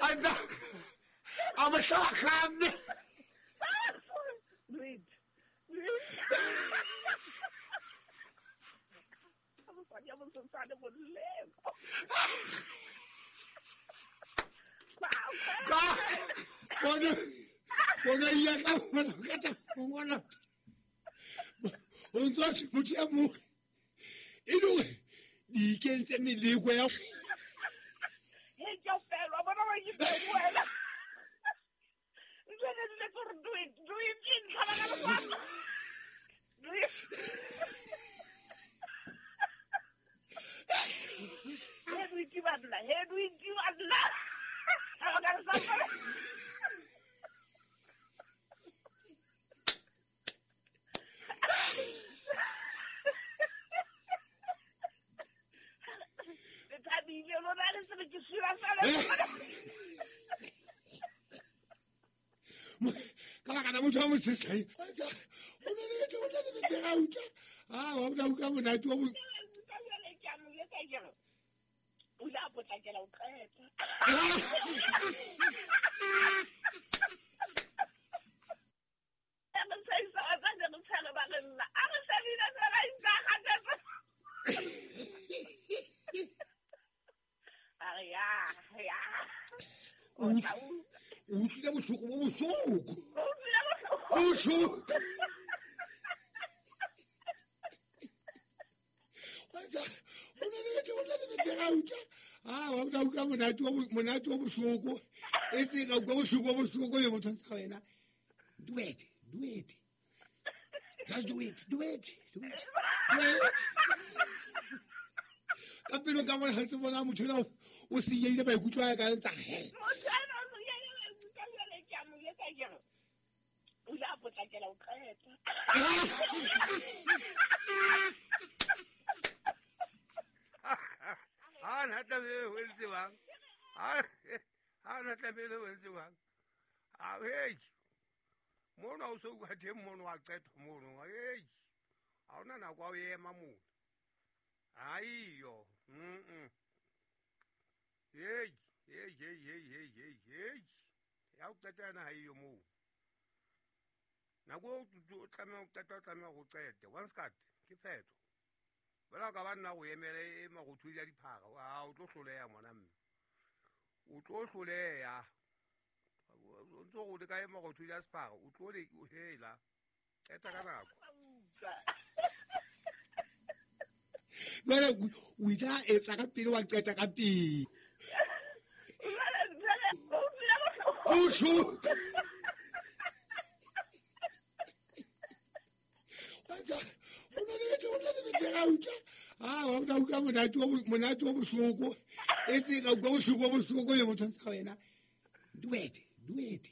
A mo hlahlamme. Do it. Do it. Mosadi ya mosesane molemo. Ka fono ya ka mona ka ta ngwana. O ntse motho ya mo. E le di ikentse meleko ya. He ke o fela bona wa ke wena. Ntse le gore do it in tlhaba ka lefapha. Do it. He do it banna, he do it banna. Tlhaba ka lefapha. Le thabile lona le se ke sira fela. Ka baka la motho wa mosesane. O na le bethe, o na le bethe ga utlwa. Ah, wa utlwa utlwa monate wa O ile a potlakela ho qeta. O utlwile bohloko bo bohloko. Bohloko. O na le bethe, o na le bethe ga utlwa. Ah, wa utlwa utlwa monate wa bohloko. E se ka utlwa bohloko bo bohloko le motho ntse wena. Do it, do it. Just do it, do it, do it. Do it. Ka pelo ka mona se bona motho ena o senyehile maikutlo a ka ntsa hell. Motho ena o senyehile maikutlo jwale ke a mo jwetsa ke re o ile a potlakela ho qeta. Ha na tlamehile ho entse bang. Ha na tlamehile ho entse bang. A hey. Mono o so utlwa teng mono wa qetwa mono. Hey. Ha hona nako ya ho ema mono. Aiyo. Hey, hey, hey, hey, hey, hey, hey. Ya o qeta yena ha eyo moo. Nako o tlameha ho qeta, o tlameha ho qete. One skirt ke phetho. Jwale ka ba nna go emele e marothodi a diphara, a o tlo hloleha ngwana mme. O tlo hloleha. O ntso go le ka e marothodi a sephara, o tlo le hela. Qeta ka nako. Jwale o ile a etsa ka pele wa qeta ka pele. Bohloko. O na le bethe, o na le bethe ga utlwa. Ah, wa utlwa utlwa monate wa bohloko. E se ka utlwa bohloko bo bohloko le motho ntse wena. Do it, do it.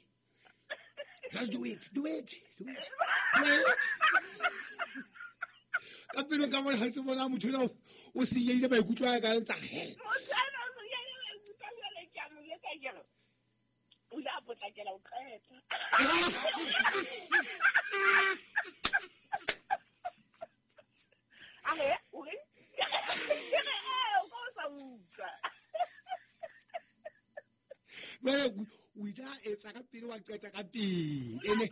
Just do it, do it, do it. Do it. Ka pelo ka mona se bona motho ena o senyehile maikutlo a ka ntsa hell. Motho ena o senyehile maikutlo jwale ke a mo jwetsa ke re o ile a potlakela ho qeta. A re o re ke re o ka o sa utlwa. Jwale o ile a etsa ka pele wa qeta ka pele. Ene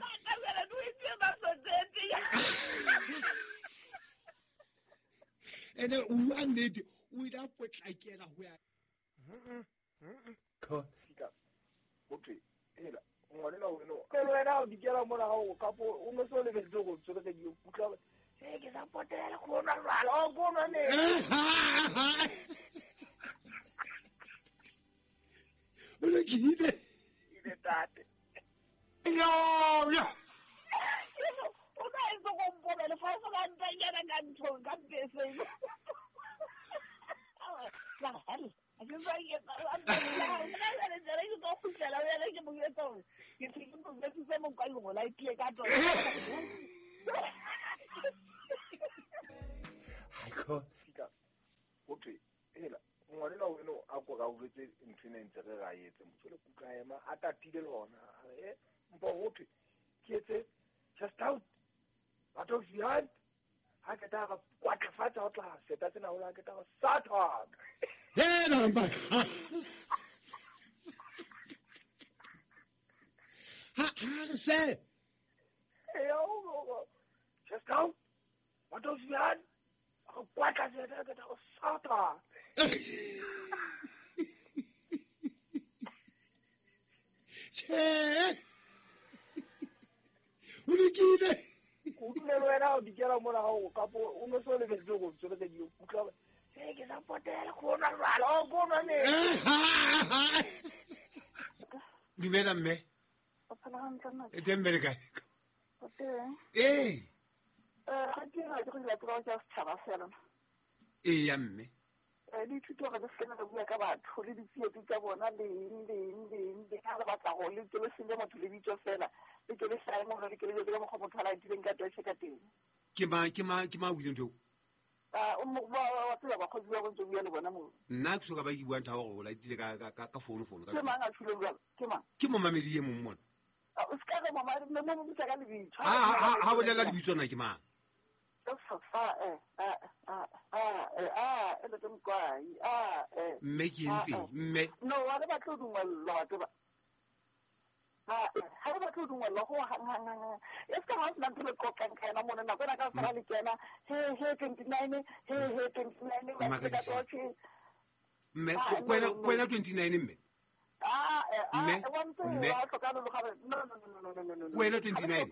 ene o bua nnete, o ile a potlakela ho ya. Ho thwe hela ngwanena weno pele wena o dikela mona ha o kapo o no so lebeletse go tswele ke utlwa e ke sa potela go nwa jwala o go nwa ne. O lokile. Ile tate. No, no. O ka etsa go mpobele fa o ka ntanyana ka nthong ka beseng. La hell. A ke sa ke ba nna le jere ke go khutlela o yela ke mo etsa hore ke se ke mo se mo kwa go la itle ka tsona. Ha ko. Ho thwe hela ngwanena weno a ko ga o jwetse ntho ena ntse re ra etse motho le kutlwa ema a tatile le hona a re e mpo ho thwe ke etse just out out of behind ha ke ta ga kwatla fatshe ho tla seta tsena ho la ke ta ga satan hela mba. Ha se. Eya, just out. What does you had? What does it get sata? Che. O lokile. O dule le wena o dikela mona ga o kapo o no so lebetse go tsweletse di utlwa. Se ke sa potela go nwa jwala o go nwa ne. Dumela mme. O phela hantle nna. E teng mme le kae? O teng. Ee. Ga ke ra ke go dira tiro ya setšhaba fela. Ee ya mme. Le ithuta gore le se re bua ka batho le ditsietsi tsa bona le eng le eng le eng le ga re batla go le ke le senye motho le bitso fela le ke le hlae mo le ke le jwetse ka mokgwa motho a laetileng ka toche ka teng. Ke ma o ileng ntho? O mo wa tseba bakgotsi ba bontse bua le bona mo. Nna ke soka ba ke buang ntho ya gore o laetile ka founu ka. Ke mang a tshileng jwalo? Ke mang? Ke momamedi e mong mona. O se ka re momamedi mo mo bitsa ka lebitso. Ha bolela lebitso na ke mang? Mme ke entseng mme? No, ha re batle ho dumellwa batho ba. Ha re batle ho dumellwa ho hang hang hang. E se ka ha o sena ntho le qoqang ka yona mona nako ena ka fela le kena he 29 he 29 ba ka toche. Mme kwena 29 mme. Mme mme kwena 29.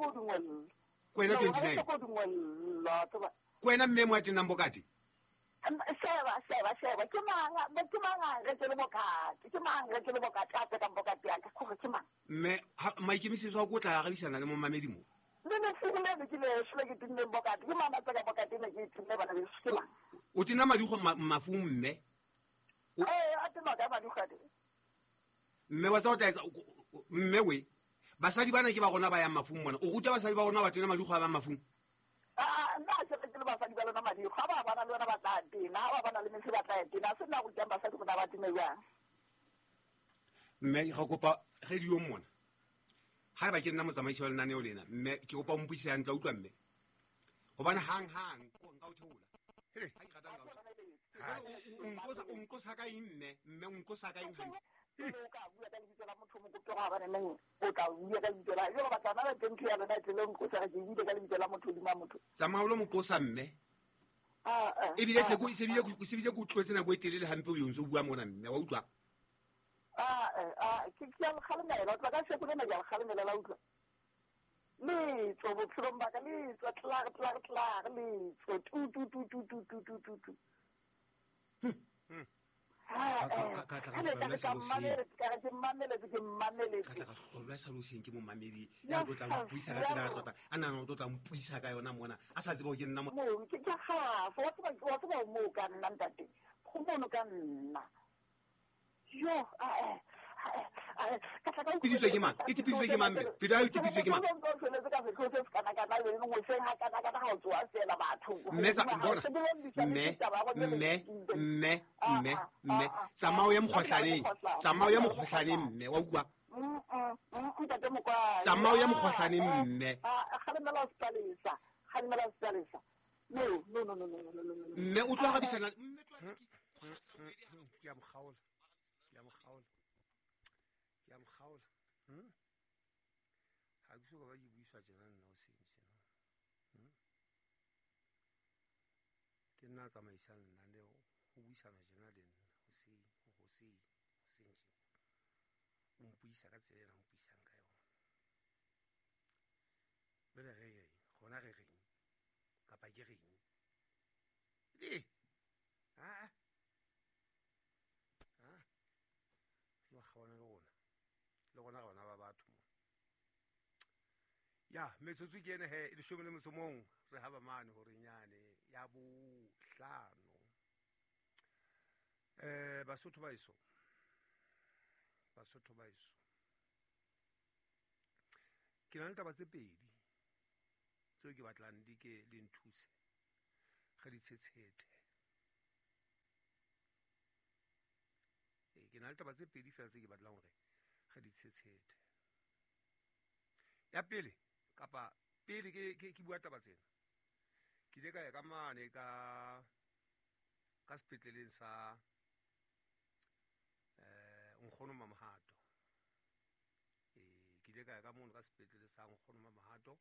Kwena 29. Kwena mme mo atenang bokate. Sheba ke mang re ke le bokate ke mang re ke le bokate a ka bokate ya ka gore ke mang mme maikemisetso a go tla arabisana le momamedi mo le ne se le ke le shle ke tinne bokate ke mama tsa bokate ne ke tinne bana be ke mang o tina madi go mafung mme a tena ka madi gade mme wa tsa o tla mme we basadi bana ke ba rona ba yang mafung mona o ruta basadi ba rona ba tena madi go ba mafung. Nna se re ke le basadi ba lona madi ga ba bana le lona ba tla tena ha ba bana le metse ba tla tena se nna go rutang basadi go na ba tene jang mme ga kopa radio mona ha ba ke nna motsamaisi wa lenaneo lena mme ke kopa o mpuise hantle utlwa mme hobane hang hang nka o theola hele ha ke ratang ka o nqosa ka eng mme mme o nqosa ka eng hantle o ka bua ka lebitso la motho mo kope go ba neng o tla bua ka lebitso la yo ba tla na teng ya lona tle le nqosa ke bua ka lebitso la motho dima motho tsamaya lo moqosa mme ebile se go se bile go tlotse nako e telele hampe o ntse o bua mona mme wa utlwa ke ke a kgalemela tla ka se go lena ya kgalemela la utlwa le tso bophelong ba ka le tso tla tla tla le tso tu tu tu tu tu tu tu tu tu ka tla ka hlolwa sa loseng ke momamedi ya tlo tla mpuisa ka tsela ya tlota a nana o tlo tla mpuisa ka yona mona a sa tseba ke nna mo ke ka ga wa tseba mo ka nna ntate go mono ka nna yo Pidiswe ke mang? E tipiswe ke mang mme? Pelo ya tipiswe ke mang? Mme tsa bona. Mme mme mme mme mme tsamao ya mokgohlaneng. Tsamao ya mokgohlaneng mme wa utlwa. Tsamao ya mokgohlaneng mme. No no no no no no no. Mme o tlo arabisana mme tlo ke a mokgaola. Ke a mokgaola. Ke a mokgaola. Ha ke so ka ba ke buiswa tjena nna o seng tjena. Ke nna tsamaisang lenaneo ho buisana tjena le nna hoseng hoseng hoseng tjena. O mpuisa ka tsela ena o mpuisang ka yona. Bele re reng gona re reng kapa ke reng. Le a a lo kgawana le rona le rona re bana ba batho mo. Ya metsotso ke ene he e 11 re ha ba mane hore nyane ya bohlano. Basotho ba eso. Basotho ba eso. Ke na le taba tse pedi tseo ke batlang di ke le nthuse re di tshetshete. Ke na le taba tse pedi fela tse ke batlang hore re di tshetshete. Ya pele kapa pele ke bua taba tsena. Ke ile ka ya ka mane ka sepetleleng sa nkgono Mamohato. Ke ile ka ya ka mono ka sepetlele sa Nkgono Mamohato,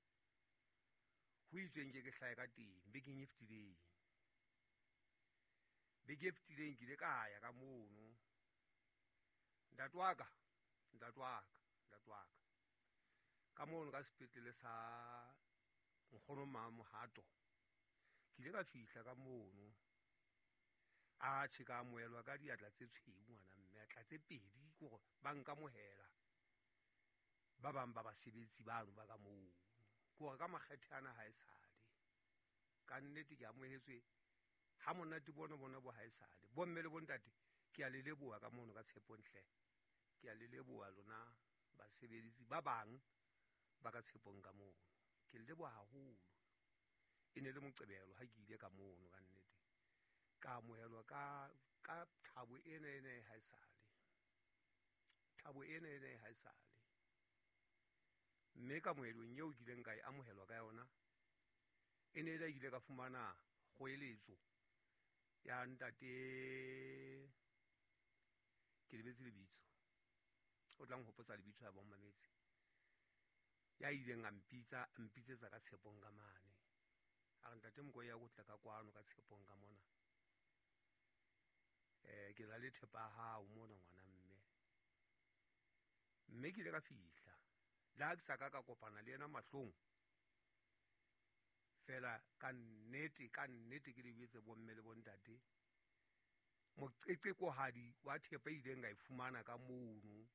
ho itsweng ke ke hlahe ka teng bekeng e fetileng. Beke e fetileng ke ile ka ya ka mono. Ntate wa ka, ntate wa ka, ntate wa ka. Ka mono ka sepetlele sa Nkgono Mamohato, ke ile ka fihla ka mono. Atjhe, ka amohelwa ka diatla tse tshweu ngwana mme, atla tse pedi ke hore ba nkamohela. Ba bang ba basebetsi bano ba ka moo. Ke hore ka makgethe ana ha esale. Ka nnete ke amohetswe ha monate bona bona bo ha esale. Bomme le bontate, ke a le leboha ka mono ka Tshepong hle. Ke a le leboha lona basebedisi ba bang ba ka Tshepong ka mono. Ke le leboha haholo. E ne le Moqebelo ha ke ile ka mono ka nnete. Ka amohelwa ka thabo ena ena e ha esale. Thabo ena ena e ha esale. Mme kamohelong eo ke ileng ka e amohelwa ka yona, e ne e le ke ile ka fumana kgoeletso ya ntate, ke lebetse lebitso, o tla nhopotsa lebitso ya bommametse, ya ileng a mpitsa, a mpitsetsa ka Tshepong ka mane. A re, ntate Mokoei, ya o tla ka kwano ka Tshepong ka mona. Ke na le thepa ya hao mona ngwana mme. Mme ke ile ka fihla. Le ha ke sa ka ka kopana le yena mahlong, fela ka nnete, ka nnete ke le jwetse bomme le bontate, moqeqekohadi wa thepa e ileng ka e fumana ka mono.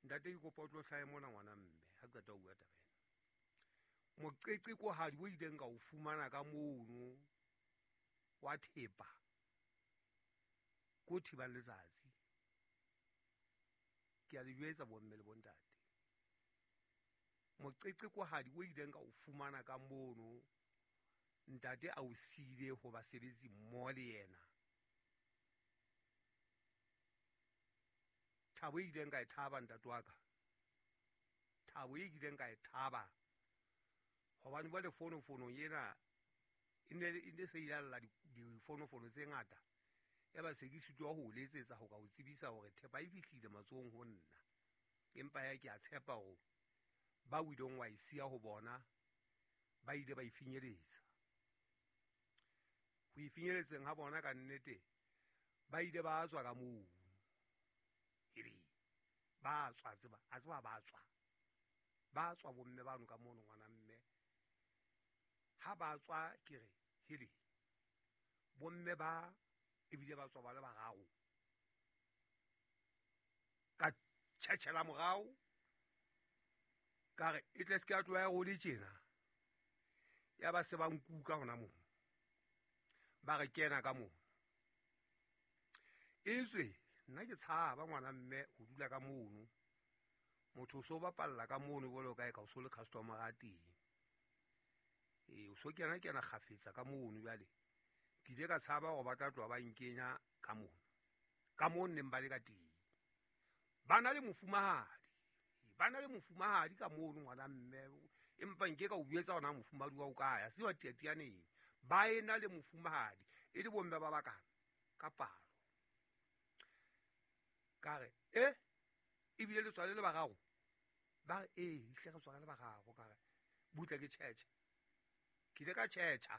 Ntate, ke kopa o tlo hlahe mona ngwana mme, ha ke qeta ho bua taba ena. Moqeqekohadi o ileng ka o fumana ka mono wa thepa, ko thibang letsatsi. Ke a le jwetsa bomme le bontate. Moqeqekohadi o ileng ka o fumana ka mono, ntate a o siile ho basebetsi mmoho le yena. Thabo e ileng ka e thaba ntate wa ka. Thabo e ileng ka e thaba. Hobane jwale fonofono ena e ne se ile lla difonofono tse ngata. Ya ba se ke sitwa ho letsetsa ho ka o tsebisa hore thepa e fihlile matsohong ho nna. Empa ya ke a tshepa hore ba o ileng wa e siya ho bona ba ile ba e finyeletsa. Ho e finyeletseng ha bona ka nnete ba ile ba tswa ka moo. Hele, ba tswa tseba, a tseba ba tswa. Ba tswa bomme bano ka mono ngwana mme. Ha ba tswa ke re, hele, bomme ba ebile ba tswa ba le bararo. Ka tjhetjhela morao, ka re e tle se ke ya tloha ya role tjena. Ya ba se ba nkuka hona moo. Ba re kena ka moo. Etswe nna ke tshaba ngwana mme ho dula ka mono. Motho o so bapalla ka mono jwalo ka e ka o so le customer a teng. O so kena kena kgafetsa ka mono jwale. Ke ile ka tshaba hore ba tla tloha ba nkenya ka mono. Ka moo neng ba le ka teng. Ba na le mofumahadi. Ba na le mofumahadi ka mono ngwana mme. Empa nke ka o jwetsa hona mofumahadi wa o kae, ha se wa tiatianeng. Ba ena le mofumahadi, e le bomme ba bakana ka palo. Ka re, ebile le tswale le bararo? Ba re, ehlile re tswale le bararo. Ka re, butle ke tjhetjhe. Ke ile ka tjhetjha.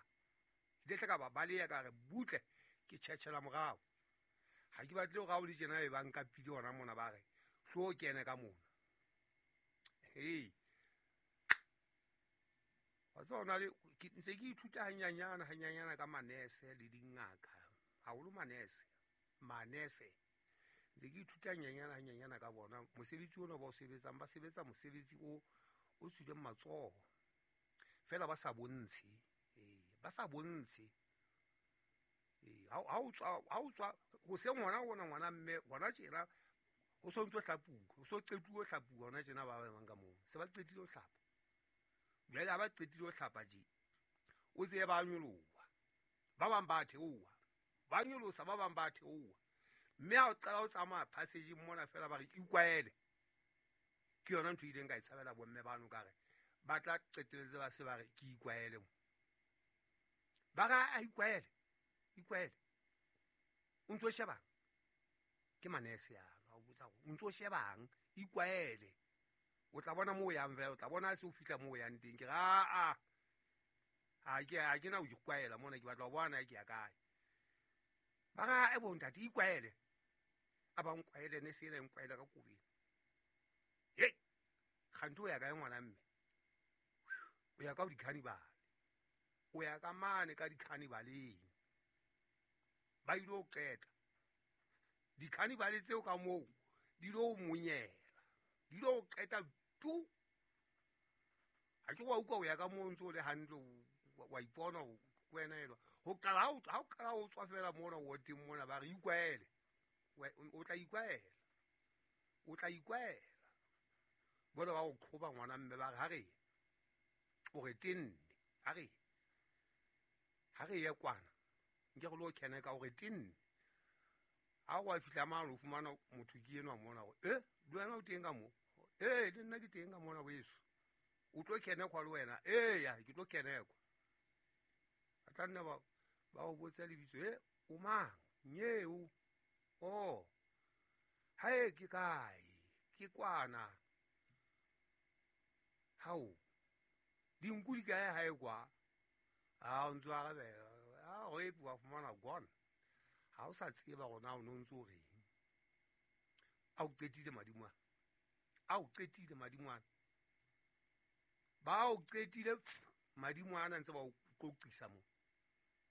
Ke ile hle ka ba baleha ka re, butle ke tjhetjhela morao. Ha ke batle hore ha o le tjena e ba nkapile hona mona ba re, hlo kene ka mona. Hei. Wa tseba hona le, ke ntse ke ithuta hanyanyana, hanyanyana ka manese le dingaka. Haholo manese. Manese. Ntse ke ithuta hanyanyana, hanyanyana ka bona. Mosebetsi ona ba o sebetsang, ba sebetsa mosebetsi o tswileng matsoho. Feela ba sa bontshe. Ba sa bontshe. Ha o tswa, ha o tswa, hoseng hona hona ngwana mme, hona tjena, ho so ntso hlapuwa, ho so qetuwe ho hlapuwa hona tjena ba bang ka moo. Se ba qetile ho hlapa. Jwale ha ba qetile ho hlapa tje, o tsebe ba nyoloha. Ba bang ba theoha. Ba nyolosa, ba bang ba theoha. Mme ha o qala ho tsamaya passage-eng mona feela ba re ikwaele. Ke yona ntho e ileng ka e tshabela bomme bano ka re, ba tla qetelletse ba se ba re ke ikwaele mo. Ba re, a ikwaele, ikwaele. O ntso shebang? Ke manese yano, a o botsa hore o ntso shebang, ikwaele. O tla bona moo o yang fela, o tla bona ha se o fihla moo o yang teng. Ke re aa, ha ke na ho ikwaela mona, ke batla ho bona ke ya kae. Ba re, e bo ntate, ikwaele. A ba nkwaele, ne se ena e nkwaele ka kobeng. Hei, kganthe o ya kae ngwana mme? O ya ka ho di-carnival. O ya ka mane ka di-carnivaleng. Ba ile ho qeta. Di-carnival tseo ka moo, di lo monyela. Di lo qeta tu. Ha ke wa utlwa o ya ka moo ntse o le hantle, wa ipona o wena elwa. Ho qala ha o qala ho tswa fela mona woteng mona, ba re ikwaele. O tla ikwaela. O tla ikwaela. Bona ba o qhoba ngwana mme ba re ha re. O re tenne. Ha re. Ha re ye kwana. Nke re lo kena ka o re tenne. Ha o fihla mane o fumana motho ke enwa mona hore, le wena o teng ka moo? Le nna ke teng ka mona weso. O tlo kena kwa le wena? Ya, ke tlo kena kwa. A tla nna ba o botsa lebitso, o mang? Nyeo. Oh. Hae ke kae? Ke kwana. Hao. Dinku di kae hae kwa? A o ntse o arabela. A o epe wa fumana gone. Ha o sa tseba hore na o no ntse o reng. A o qetile madimo ana. A o qetile madimo ana. Ba o qetile madimo ana ntse ba o qoqisa mo.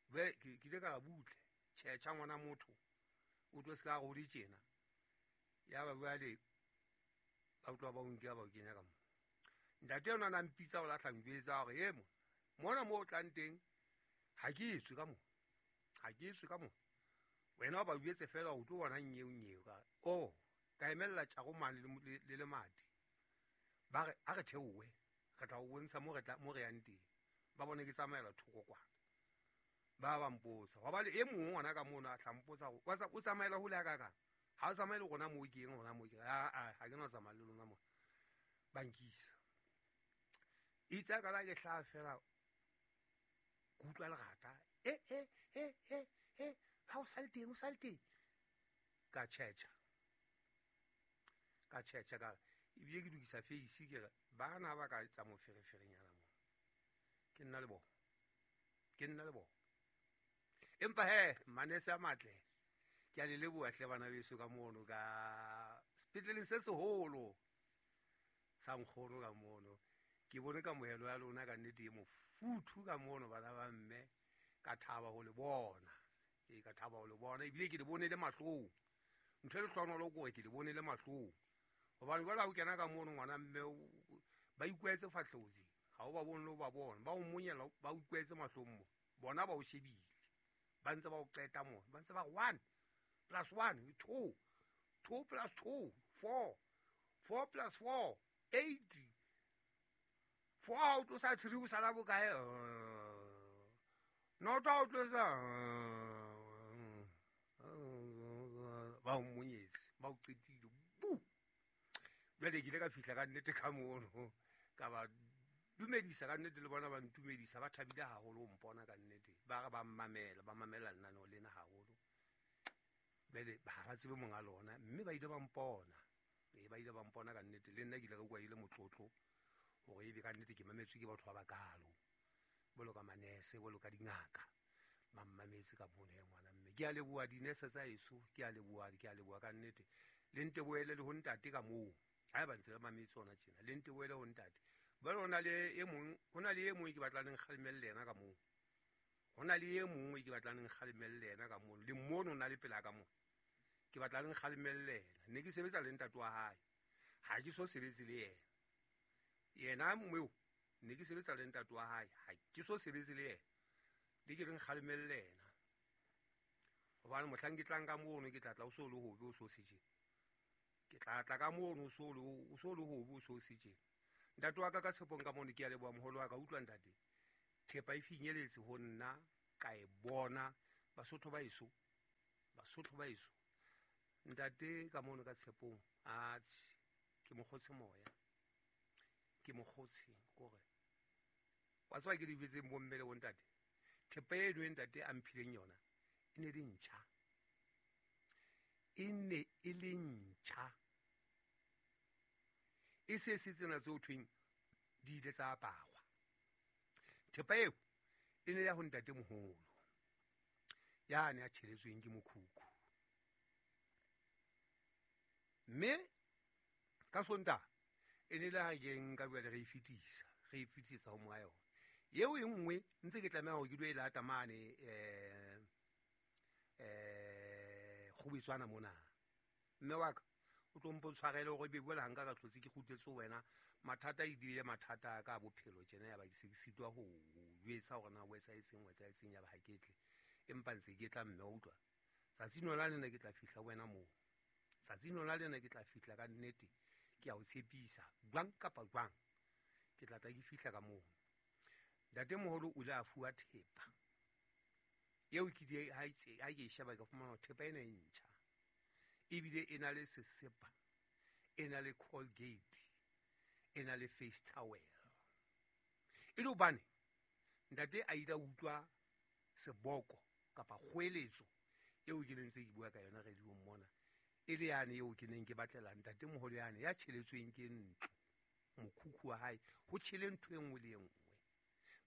Jwale ke ile ka re butle, tjhetjha ngwana motho. O tlo se ka re o le tjena. Ya ba jwale ba utlwa ba o nkea ba o kenya ka mo. Ntate yona na mpitsa o lahla njwetsa hore e mo. Mona moo o tlang teng ha ke etswe ka mo. Ha ke etswe ka mo. Wena o ba jwetse fela o tlo bona nyeo nyeo ka. Oh, ka emella tjaro mane le lemati. Ba re a re theowe, re tla o bontsha mo re tla mo re yang teng. Ba bone ke tsamaela thoko kwana. Ba ba mpotsa. Wa ba le e mong ngwana ka mona a tla mpotsa hore, wa tsa, o tsamaela hole ha kakang? Ha o tsamaye le rona moo ke eng, rona moo ke eng? A, ha ke no tsamaya le lona mona. Ba nkisa. Itse ha ka la ke hlaha fela, ke utlwa lerata. Ha o sa le teng, o sa le teng. Ka tjhetjha. Ka tjhetjha ka re, ebile ke lokisa face ke re, bana ba ka etsa mofereferenyana moo. Ke nna le bona. Ke nna le bona. Empa he, manese a matle. Ke a le leboha hle bana beso ka mono ka sepetleleng se seholo sa nkgono ka mono. Ke bone kamohelo ya lona ka nnete e mofuthu ka mono bana ba mme. Ka thaba ho le bona. Ee, ka thaba ho le bona. Ebile ke le bone le mahlong. Ntho e lehlohonolo ke hore ke le bone le mahlong. Hobane jwale ha o kena ka mono ngwana mme ba ikwetse fahlotsi. Ha o ba bone le ho ba bona. Ba o monyela, ba ikwetse mahlong mo. Bona ba o shebile. Ba ntse ba o qeta mo. Ba ntse ba re 1 plus 1, 2. 2 plus 2, 4. 4 plus 4, 8. 4 ha o tlosa 3 o sala bokae? Noto ha o tlosa, ba o monyetse, ba o qetile. Bu! Jwale ke ile ka fihla ka nnete ka mono, ka ba dumedisa ka nnete le bona ba ntumedisa, ba thabile haholo ho mpona ka nnete. Ba re ba mmamela, ba mamela lenaneo lena haholo. Jwale ha ba tsebe monga lona, mme ba ile ba mpona. Ee, ba ile ba mpona ka nnete. Le nna ke ile ka utlwa e le motlotlo hore ebe ka nnete ke mametswe ke batho ba bakalo. Jwalo ka manese, jwalo ka dingaka. Ba mmametse ka mono ya ngwana mme. Ke a leboha dinese tsa heso, ke a leboha, ke a leboha ka nnete. Le nte boele le ho ntate ka moo. Haeba ntse re mametse hona tjena, le nte boele ho ntate. Jwale ho na le e mong, ho na le e mong ke batlang le nkgalemelle yena ka moo. Ho na le e mong ke batlang le nkgalemelle yena ka moo. Le mono o na le pela ka moo. Ke batla le nkgalemelle yena. Ne ke sebetsa le ntate wa hae. Ha ke so sebetse le yena. Yena mmeo, ne ke sebetsa le ntate wa hae. Ha ke so sebetse le yena. Le ke le nkgalemelle yena. Hobane mohlang ke tlang ka mono, ke tla tla o so le hobe, o so se tjena. Ke tla tla ka mono, o so le hobe, o so se tjena. Ntate wa ka ka tshepong ka mono, ke a leboha moholo wa ka. Utlwa ntate, thepa e finyeletse ho nna, ka e bona. Basotho ba heso, Basotho ba heso. Ntate ka mono ka tshepong, atjhe, ke mokgotse moya. Ke mokgotse, kore. Wa tseba ke di bitseng bomme le bontate? Thepa eno e ntate a mphileng yona, e ne le ntjha. E ne e le ntjha. E se se tsena tse ho thweng di ile tsa aparwa. Thepa eo e ne ya ho ntatemoholo yane a tjheletsweng ke mokhukhu. Mme ka Sontaha e ne le ha ke nka jwale re e fetisa, re e fetisetsa ho monga yona. Eo e nngwe ntse ke tlameha hore ke dule e lata mane Kgubetswana mona. Mme wa ka o tlo mpo tshwarele hore ebe jwale ha nka ka hlotse ke kgutletse ho wena, mathata e bile mathata a ka a bophelo tjena, ya ba ke se ke sitwa ho jwetsa hore na o etsahetseng, o etsahetseng, ya ba ha ke tle. Empa ntse ke tla mme wa utlwa. Tsatsing lona lena ke tla fihla ho wena moo. Tsatsing lona lena ke tla fihla ka nnete, ke a o tshepisa, jwang kapa jwang ke tla tla ke fihla ka moo. Ntatemoholo o ile a fuwa thepa eo ke di ha ke e sheba ka fumana hore thepa ena e ntjha, ebile e na le sesepa, e na le Colgate, e na le face towel. E le hobane ntate a ile a utlwa seboko kapa kgoeletso eo ke neng ntse ke bua ka yona radiong mona, e le yane eo ke neng ke batlela ntatemoholo yane ya tjheletsweng ke ntlo, mokhukhu wa hae, ho tjhele ntho e nngwe le e nngwe.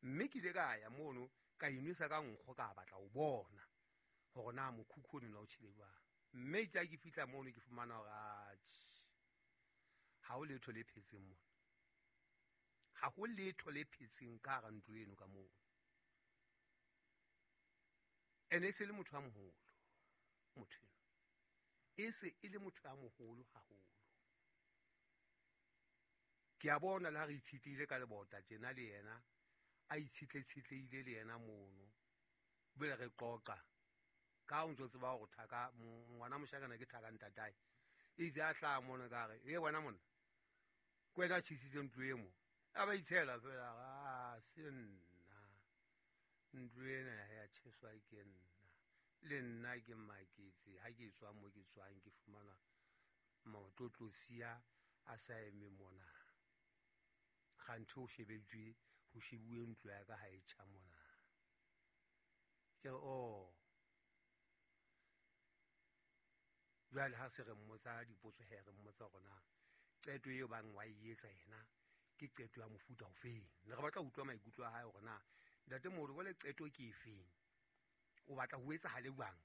Mme ke ile ka ya mono ka inwesa ka nkgo, ka batla ho bona hore na mokhukhu ono na o tjhele jwang. Mme itse ha ke fihla mono ke fumana hore atjhe, ha ho letho le phetseng mona, ha ho letho le phetseng ka hara ntlo eno ka mono. Ene e se le motho a moholo, motho eno e se e le motho a moholo haholo. Ke a bona le ha re itshetlehile ka lebota tjena le yena, a itshetletshetlehile le yena mono, jwale re qoqa ka o ntso tseba hore thaka ngwana moshakana ke thaka ntatae. Itse a hlaha mona ka re, e wena monna, ke wena a tjhesitseng ntlo e mo. A ba itshela fela, a se nna, ntlo ena ya tjheswa ke nna, le nna ke maketse ha ke tswa mo ke tswang ke fumana maotlotlosia a sa eme mona. Kganthe ho shebetswe, ho shebuwe ntlo ya ka ha e tjha mona. Ke re, oh, jwale ha se re mmotsa dipotso he, re mmotsa hore na qeto eo bang wa e etsa yena ke qeto ya mofuta ofeng. Ne re batla ho utlwa maikutlo a hae hore na ntatemoholo jwale qeto ke efeng, o batla ho etsahale jwang,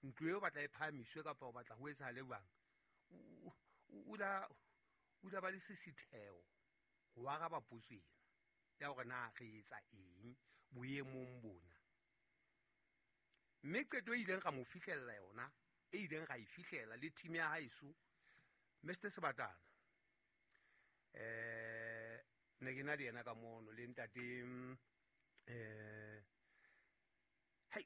ntlo eo o batla e phahamiswe kapa o batla ho etsahale jwang. O la ba le sesitheo ho araba potso ena ya hore na re etsa eng boemong bona. Mme qeto e ileng ra mo fihlella yona, e ileng ra e fihlela le team ya haeso, Mr Sebatana, ne ke na le yena ka mono le ntate, hai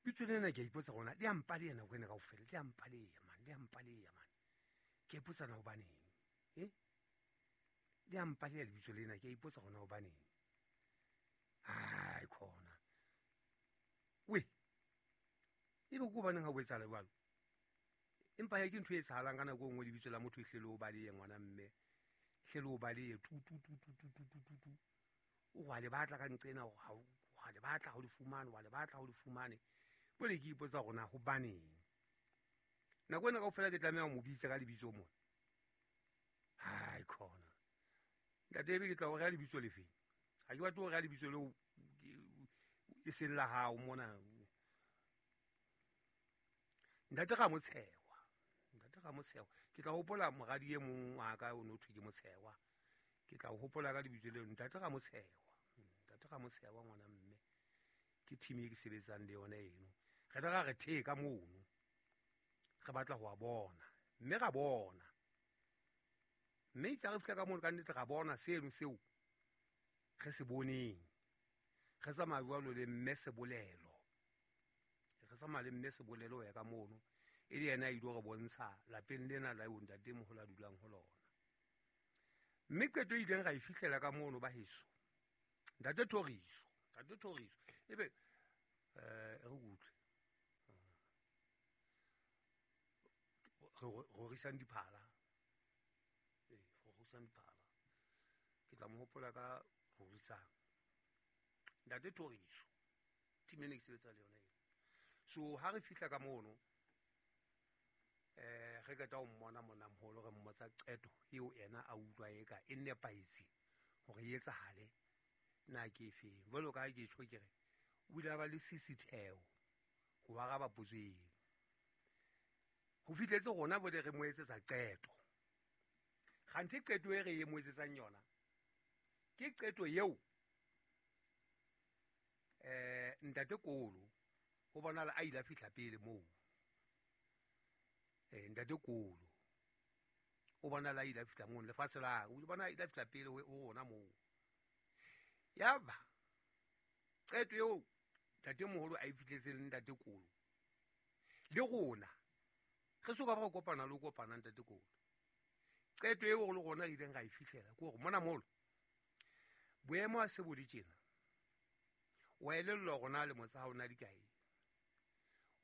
bitso lena ke a ipotsa gona le a mpaleya nako ena kaofela, le a mpaleya man, le a mpaleya man. Ke a ipotsa na hobaneng, le a mpaleya lebitso lena, ke a ipotsa gona hobaneng. Hai khona we, ebe ke hobaneng ha o etsahala jwalo? Empa he ke ntho e etsahalang ka nako e nngwe, lebitso la motho e hle le o balehe ngwana mme, hle le o balehe tu tu tu tu tu tu tu tu tu. O wa le batla ka nqena, wa le batla ha o le fumane, wa le batla ha o le fumane. Jwale ke ipotsa hore na hobaneng nako ena kaofela ke tlameha ho mo bitsa ka lebitso mona. Hai khona ntate, ebe ke tla o reha lebitso lefeng? Ha ke batle ho reha lebitso leo e seng la hao mona. Ntate Ramotshewa, ntate Ramotshewa, ke tla hopola moradi e mong wa ka o no thwe ke Motshewa, ke tla hopola ka lebitso leo, ntate Ramotshewa, ntate Ramotshewa ngwana mme, ke team e ke sebetsang le yona eno. Re tla re the ka mono, re batla ho a bona, mme ra bona. Mme itse ha re fihla ka mono ka nnete ra bona seno seo re se boneng. Re tsamaya jwalo le mme Sebolelo, re tsamaya le mme Sebolelo ho ya ka mono, e le yena a ile re bontsha lapeng lena la eo ntatemoholo a dulang ho lona. Mme qeto e ileng ra e fihlela ka mono ba heso, ntate Thoriso, ntate Thoriso, ebe re utlwe re rorisang diphala, rorisang diphala, ke tla mo hopola ka rorisang ntate Thoriso, team ene ke sebetsa le yona eo. So ha re fihla ka mono, Re qeta ho mmona monnamoholo, re mmotsa qeto eo yena a utlwa eka e nepahetse hore e etsahale na ke efeng. Jwalo ka ha ke tjho ke re o ile a ba le sisitheo ho araba potso eno. Ho fihletse rona bole re mo etsetsa qeto. Kganthe qeto e re e mo etsetsang yona ke qeto eo ntate Kolo ho bonahala a ile a fihla pele moo. Ntate Kolo o bonahala a ile a fihla moo lefatshe la o bona a ile a fihla pele ho rona moo. Yaba qeto eo ntate moholo a e fihletseng le ntate Kolo le rona re soka ba re kopana le ho kopana ntate Kolo. Qeto eo le rona re ileng ra e fihlela ke hore mona moholo boemo ha se bo le tjena, wa elellwa hore na lemo tsa hao na di kae,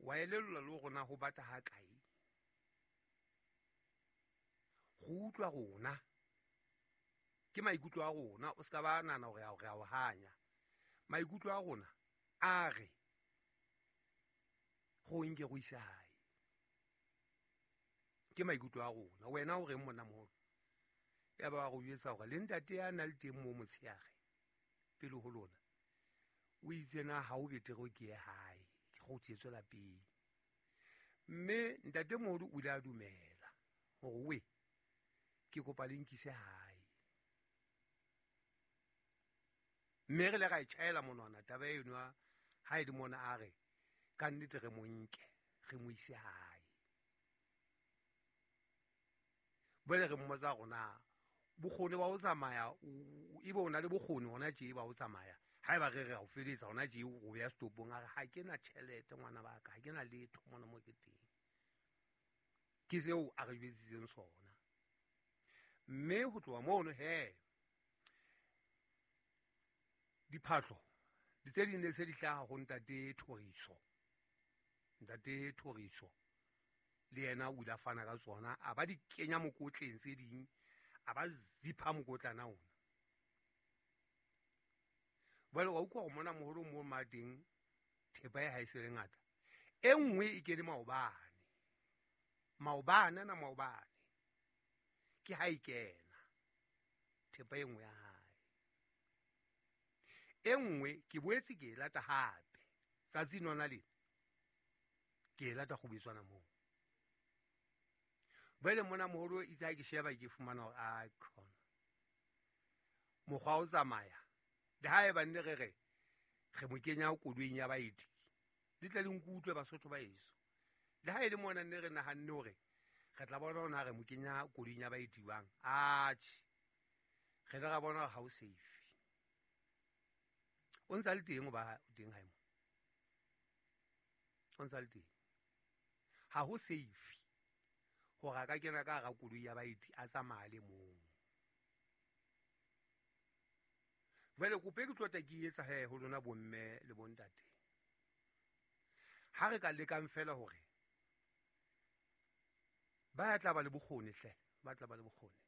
wa elellwa le hore na ho bata ha kae. Go utlwa rona ke maikutlo a rona, o ska ba nahana hore re a o hanya. Maikutlo a rona a re go nke go ise hae, ke maikutlo a rona. Wena o reng monnamoholo? Ya ba go jwetsa hore le ntate ya na le teng mo motshehare pele ho lona o itse na ha o betere ke ye hae, ke go tsetswe lapeng. Mme ntatemoholo o ile a dumela hore we ke kopa le nkise hae. Mme re le ra e tjhaela monwana taba eno ha e le mona a re ka nnete re mo nke re mo ise hae. Bole re mmotsa rona bokgoni ba ho tsamaya, ebe o na le bokgoni hona tje ba ho tsamaya. Haeba re re o feletsa hona tje o beha stopong, a re ha ke na tjhelete ngwana ba ka, ha ke na letho mona mo ke teng. Ke seo a re jwetsitseng sona. Mme ho tloha mono he diphahlo di tse ding ne se di hlaha ho ntate Thoriso. Ntate Thoriso le yena o ile a fana ka tsona, a ba di kenya mokotleng tse ding, a ba zipha mokotlana ona. Jwale wa utlwa hore mona moholo mo mateng thepa e ha e se le ngata. E nngwe e kene maobane. Maobane na maobane. Ke ha e kena thepa e nngwe ya hae. E nngwe ke boetse ke e lata hape tsatsi nona lena ke e lata kgubetswana moo. Jwale mona moholo itse ha ke sheba ke fumana hore a khona mokgwa o tsamaya le ha eba nne re re re mo kenya koloing ya baeti, le tle le nkutlwe Basotho ba heso. Le ha e le mona nne re nahanne hore re tla bona hore na re mo kenya koloing ya baeti jwang, atjhe re ile ra bona hore ha o safe. O ntsa le teng hoba teng hae mo, o ntsa le teng, ha ho safe hore a ka kena ka hara koloi ya baeti a tsamaya le mong. Jwale kopo e ke tlo tla ke etsa he ho lona bomme le bontate, ha re ka lekang fela hore ba tla ba le bokgoni hle, ba tla ba le bokgoni.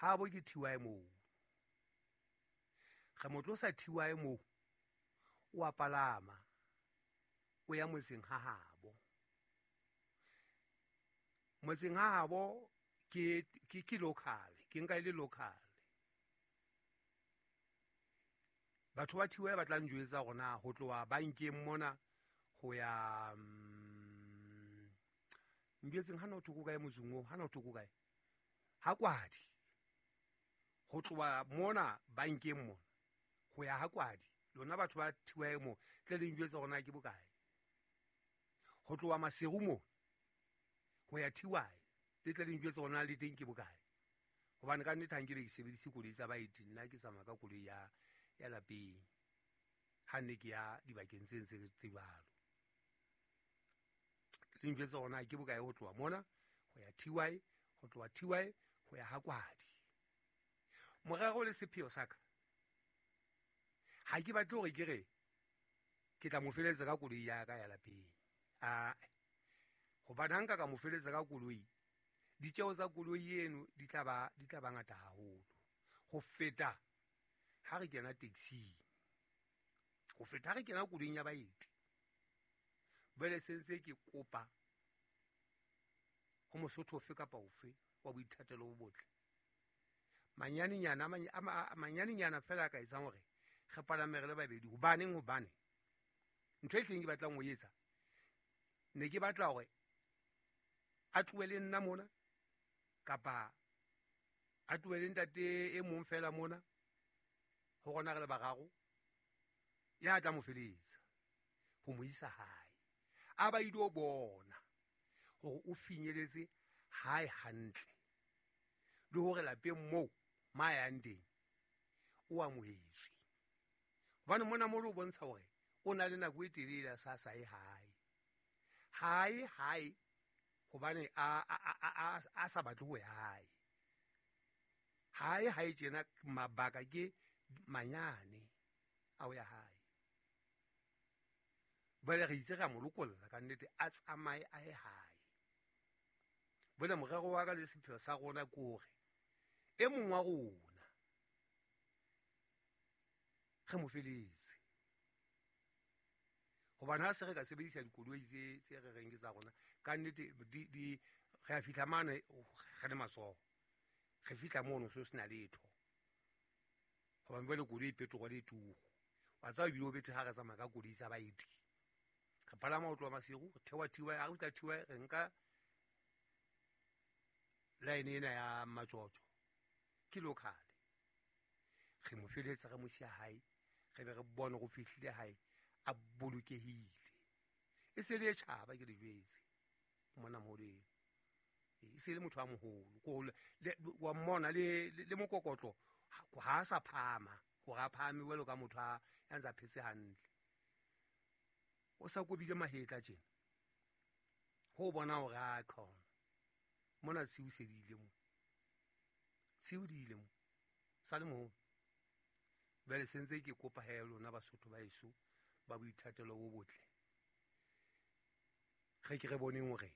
Ha bo ke TY moo, re mo tlosa TY moo, o a palama o ya motseng ha habo. Motseng ha habo ke ke local, ke nka e le local. Batho ba TY ba tla njwetsa hore na ho tloha bankeng mona ho ya njwetseng hana ho thoko kae motseng oo, hana ho thoko kae ha Kwadi. Ho tloha mona bankeng mona ho ya ha Kwadi, lona batho ba TY mo tle le njwetsa hore na ke bokae. Ho tloha Maseru mo ho ya TY, le tle le njwetsa hore na le teng ke bokae. Hobane ka nnete ha nkebe ke sebedise koloi tsa baeti, nna ke tsamaya ka koloi ya lapeng ha nne ke ya dibakeng tse ntse tse jwalo. Le njwetsa hore na ke bokae ho tloha mona ho ya TY, ho tloha TY ho ya ha Kwadi. Morero le sepheo sa ka, ha ke batle hore ke re ke tla mo feletsa ka koloi ya ka ya lapeng. Ae, hobane ha nka ka mo feletsa ka koloi, ditjeho tsa koloi eno di tla ba ngata haholo ho feta ha re kena taxing, ho feta ha re kena koloing ya baeti. Jwale se ntse ke kopa Mosotho ofe kapa ofe wa boithatelo bo botle, manyanenyana fela a ka etsang hore re palame re le babedi. Hobaneng? Hobane ntho e tleng ke batlang ho etsa, ne ke batla hore a tlohe le nna mona, kapa a tlohe le ntate e mong fela mona, ho rona re le bararo, ya tla mo feletsa ho mo isa hae, a ba ile bona hore o finyeletse hae hantle, le hore lapeng moo ma yang teng o amohetswe. Hobane mona mo o bontsha hore o na le nako e telele a sa sae hae hae hae, hobane a sa batle ho ya hae hae hae tjena. Mabaka ke manyane a ho ya hae. Jwale re itse re a mo lokolla ka nnete, a tsamaye a ye hae. Jwale morero wa ka le sepheo sa rona ke hore e mong wa rona re mo feletse, hobane ha se re ka sebedisa dikoloi tse re reng ke tsa rona, ka nnete re a fihla mane re le matsoho, re fihla mono so sena letho, hobane jwale koloi petrol e turu. Wa tseba ebile o bethe ha re tsamaya ka koloi tsa baeti, re palama ho tloha Maseru, re theoha Thiwa, ha re fihla Thiwa re nka line ena ya Matsotso, ke local, re mo feletsa re mo siya hae, re be re bone go fihlile hae a bolokehile. E se le e tjhaba, ke le jwetse mona moholo eno, e se le motho a moholo, wa mmona le mokokotlo ha a sa phahama hore a phahame jwalo ka motho a ya ntse a phetse hantle, o sa kobile mahetla tjena, ho bona hore a khona mona tshiu se di ile mo, tshiu di ile mo, sa le moholo. Jwale se ntse ke kopa he lona Basotho ba heso ba boithatelo bo botle, re ke re boneng hore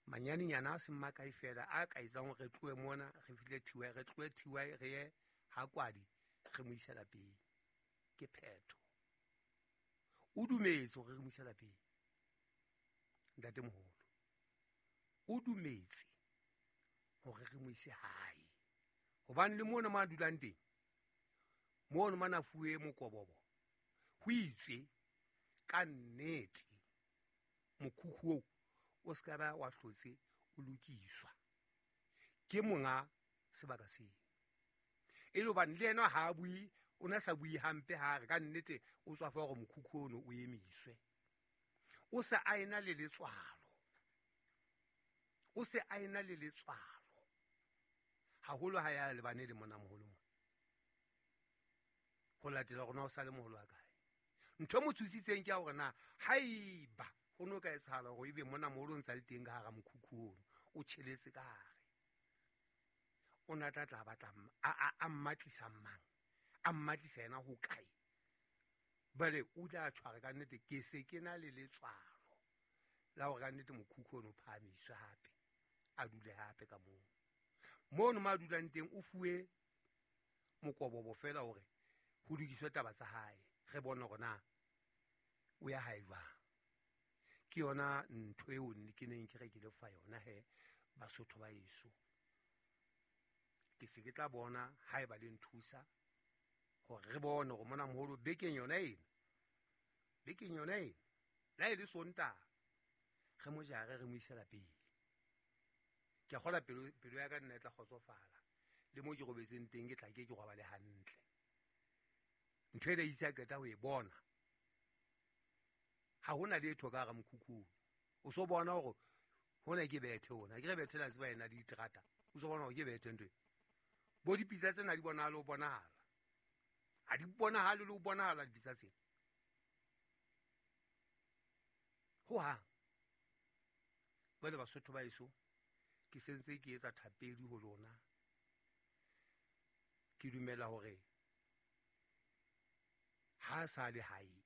manyanenyana a seng makae fela a ka etsang hore re tlohe mona re fihle Thiwa, re tlohe Thiwa re ye ha Kwadi, re mo ise lapeng. Ke phetho. O dumetse hore re mo ise lapeng, ntatemoholo o dumetse hore re mo ise hae, hobane le mona mo a dulang teng, mono mana fuwe mokobobo, ho itswe ka nnete mokhukhu oo o se ka ba wa hlotse o lokiswa ke monga sebaka seo. E le hobane le yena ha a bue, o na sa bue hampe, ha re ka nnete o tswa fa hore mokhukhu ono o emiswe, o se a ena le letswalo, o se a ena le letswalo haholo ha ya lebane le mona moholo mona, ho latela rona o sa le moholo wa kae. Ntho e mo tshositseng ke ya hore na haeba ho no ka etsahala hore ebe mona moholo o ntsa le teng ka hara mokhukhu ono, o tjheletse ka hare, o na tla tla batla a mmatlisa mang, a mmatlisa yena ho kae. Jwale o ile a tshwara ka nnete, ke se ke na le letswalo la hore ka nnete mokhukhu ono o phahamiswe hape, a dule hape ka moo. Mono mo a dulang teng o fuwe mokobobo fela hore ho lokiswe taba tsa hae, re bone hore na o ya hae jwang. Ke yona ntho eo ke neng ke re ke le fa yona he Basotho ba heso. Ke se ke tla bona haeba le nthusa hore re bone hore mona moholo bekeng yona ena, bekeng yona ena, la e le Sontaha, re mo jare re mo ise lapeng. Ke a kgolwa pelo ya ka nna e tla kgotsofala, le mo ke robetseng teng ke tla ke ke robale hantle. Ntho ena itse a qeta ho e bona, ha hona letho ka hara mokhukhu ono. O so bona hore hona ke bethe ona, ke re bethe la tseba ena diterata, o so bona hore ke bethe ntho e. Bo dipitsa tsena di bonahale ho bonahala, ha di bonahale le ho bonahala dipitsa tsena ho hang. Jwale Basotho ba heso, ke sentse ke etsa thapedi ho lona, ke dumela hore ha sa le hae